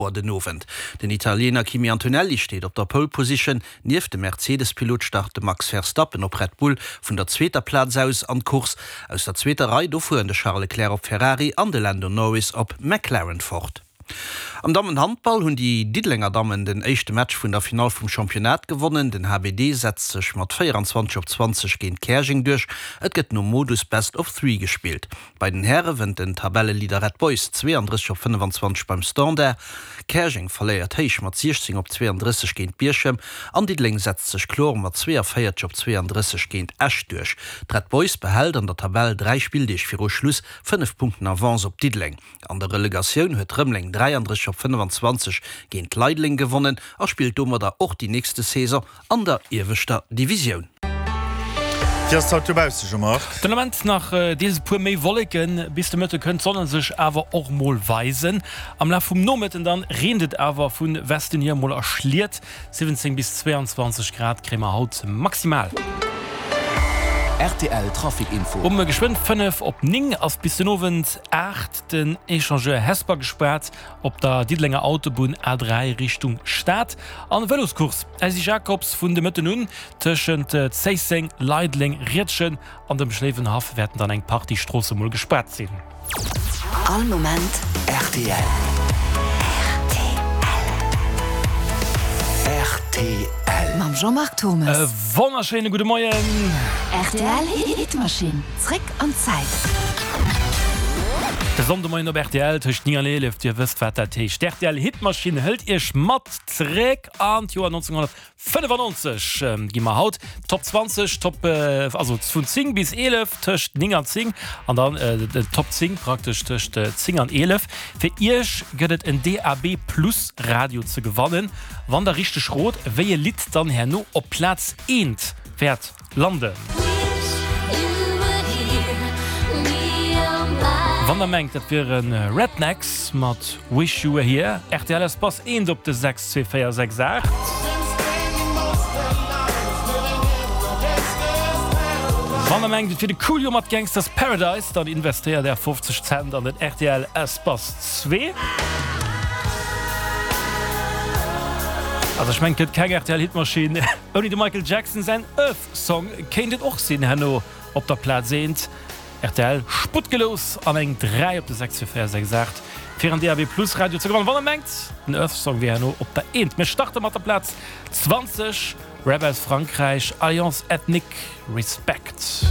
Auer den Owend. Den Italiener Kimi Antonelli steet op der Pole Position. Nieft dem Mercedes-Pilot start de Max Verstappen op Red Bull vun der zweeter Plaz aus an d'Course. Aus der zweeter Rei do fueren de Charles Leclerc op Ferrari an de Lando Norris op McLaren fort. Am Dammenhandball hunn déi Diddelenger Dammen den éischte Match vun der Finall vum Championnat gewonnen. Den HBD setzt sech mat 24 op 20 géint Käerjeng duerch. Et gëtt nom Modus Best of Three gespillt. Bei den Häre wënnt den Tabelleleader Red Boys 32 op 25 beim Standard. Käerjeng verléiert héich mat 16 op 32 géint Bierchem an Diddeleng setzt sech kloer mat 42 op 32 géint Esch duerch. D'Red Boys behält an der Tabell 3 Spilldeeg viru Schluss 5 Punkten Avance op Diddeleng. An der Relegatioun huet Rëmeleng 33 op 25 géint Leideleng gewonnen a spillt domadder och déi nächste Saison an der ieweschter Divisioun. Wéi ass et haut dobausse, Jean-Marc? Den Ament nach deels e puer méi Wolleken, bis de Mëtte kënnt d'Sonne sech awer och mol weisen. Am Laf vum Nomëtten dann reent et awer vu Westen hier mol a Schliet. 17 bis 22 Grad kréie mer haut maximal. Rtl Trafic Info. Um geschwënn 5 op 9 ass bis den Owend 8 den Echangeur Hesper gespaart. Op der Diddelenger Autobunn A3 Richtung Stad an Vëloscourse Elsy Jacobs vun de Mëtten un tëschent Zéisseng, Leideleng, Riedgen an dem Schléiwenhaff wäerten dann eng Partie Stroosse mol gespaart sinn. All Moment rtl. Rtl. Mam Jean-Marc Thommes. E wonnerschéine gudde Moien. Rtl Hitmaschinn, zréck an d'Zäit. De Sonndemoien op rtl tëscht 9 an 11, dir wësst wat dat heescht. D'RTL Hitmaschinn hëlt iech mat zréck an d'Joer 1995. Gi mer haut d'Top 20, Top, also vun 10 bis 11 tëscht 9 an 10 an dann d'Top 10 praktesch tëscht 10 an 11. Fir iech gëtt et en DAB Plus Radio ze gewannen, wann der richteg rot wéi e Lidd dann herno op Plaz eent wäert Landen. Wann der mengt dat wiere Rednex mat Wish You Were Here, rtl Espace 1 op de 6 2 4 6 8. Wann der mengt et wier de Coolio mat Gangsta's Paradise, dann investéiert är 50 Cent an den rtl Espace 2. Also ech mengen et gëtt keng rtl Hitmaschinn. Ouni dem Michael Jackson säin Earth Song kéint et och sinn, herno op der Plaz eent. Rtl Sputt gelous an eng 3 op de 6 fir 4 6 8 fir en DAB Plus Radio ze gewannen. Wann der mengt den Earth Song wier herno op der eent. Mir starte mat der Plaz 20, Rap aus Frankräich, Alliance Ethnique, Respect.